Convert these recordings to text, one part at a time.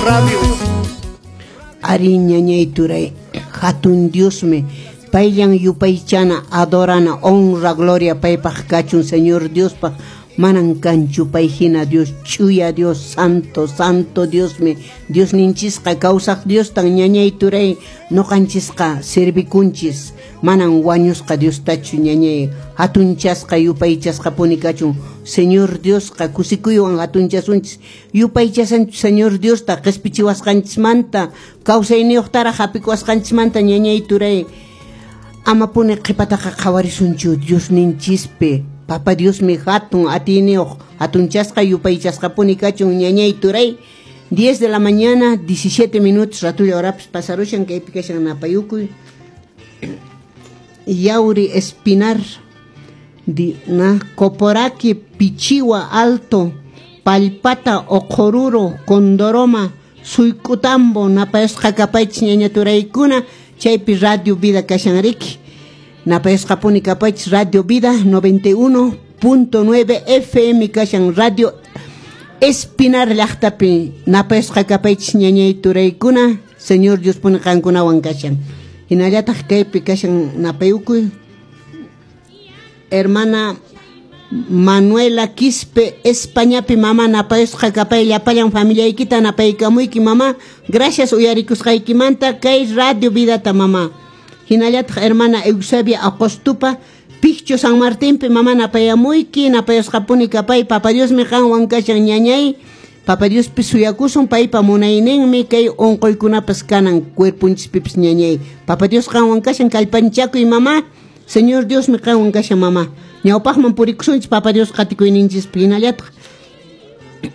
Radio. Ari ñañay turay, hatun Diosmi, payllan yupaychana, adorana, honra, gloria paypaq kachun, Señor Diospaq, manan kanchu pay hina Dios, ch'uya Dios, santo, santo Diosmi, Diosninchisqa kawsaq Diostan ñañay turay, nuqanchisqa servikunchis, manan wañusqa Diostachu ñañay, hatunchasqa yupaychasqapuni kachun, Señor Diosqa kusikuywan hatunchasunchis, yupaychasanchis Señor Diosta qispichiwasqanchismanta, kawsayniyuqtaraq hapikuwasqanchismanta ñañay turay, amapuni qhipataqa qhawarisunchu Diosninchispi, Papa Diosmi hatun atiyniyuq, hatunchasqa yupaychasqapuni kachun ñañay turay. 10 de la mañana, 17 minutos, ratulla horapas pasarushan, kaypi kashan napayukuy. Yauri Espinar, di, na, Coporaqui, Pichiwa Alto, Palpata, Oqoruro, Condoroma, Suicutambo, napayasqa kapaychis ñaña turaykuna, chaypi Radio Vida kashan riki. Napayasqapuni kapaychis Radio Vida 91.9 FM kashan Radio Espinar llaqtapi napayasqa kapaychis ñañay turaykuna, Señor Dios puni qankunawan kashan. Hinallataq kaypi kashan napayukuy hermana Manuela Quispe Españapi mama napayasqa kapay llapallan familiaykita napaykamuyki mama, gracias uyarikusqaykimanta kay Radio Vidata mama. Hinallataq hermana Eusebia Acostupa Piccho San Martinpi mama napayamuyki, napayasqapuni kapay, Papa Diosmi qanwan kashan ñañay, Papa Diospi suyakusun paypa munayninmi kay unquykunapas kanan cuerpunchispipis ñañay, Papa Dios qanwan kashan kallpanchakuy mama, Señor Diosmi qanwan kashan mama, ñawpaqman purikusunchis Papa Dios qatikuyninchispi. Hinallataq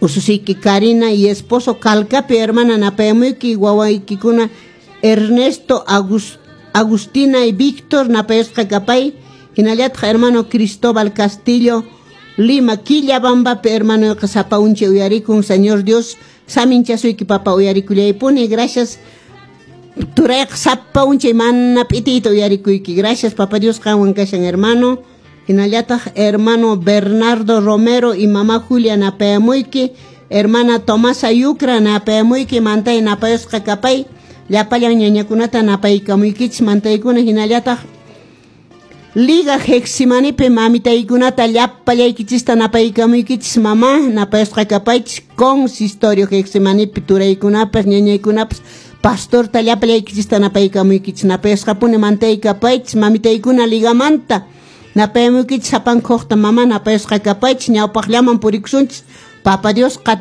ususiyki Karina y esposo Calcapi hermana napayamuyki, wawaykikuna Ernesto, Agustina y Víctor napayasqa kapay, hinallataq hermano Cristóbal Castillo Lima Quillabambapi hermano sapa unchi uyarikun, Señor Dios saminchasuyki papa uyarikullaypuni, gracias turayqa sapa unchay mana p'itiyta uyarikuyki, gracias Papa Dios qanwan kashan hermano. Hinallataq hermano Bernardo Romero y mamá Julia napayamuyki, hermana Tomasa Yucra napayamuyki, mantay napayasqa kapay, llapallan ñañakunata napaykamuykichis mantaykuna, hinallataq Liga Heximanipi mamitaykunata llapallaykichista napaykamuykichis mama, napayasqa kapaychis consistorio Heximanipi turaykunapas ñañaykunapas pastorta llapallaykichista napaykamuykichis, napayasqapuni mantay kapaychis mamitaykuna ligamanta napayamuykichis sapankuqta mama napayasqa kapaychis, ñawpaqllaman purikusunchis Papa Dios.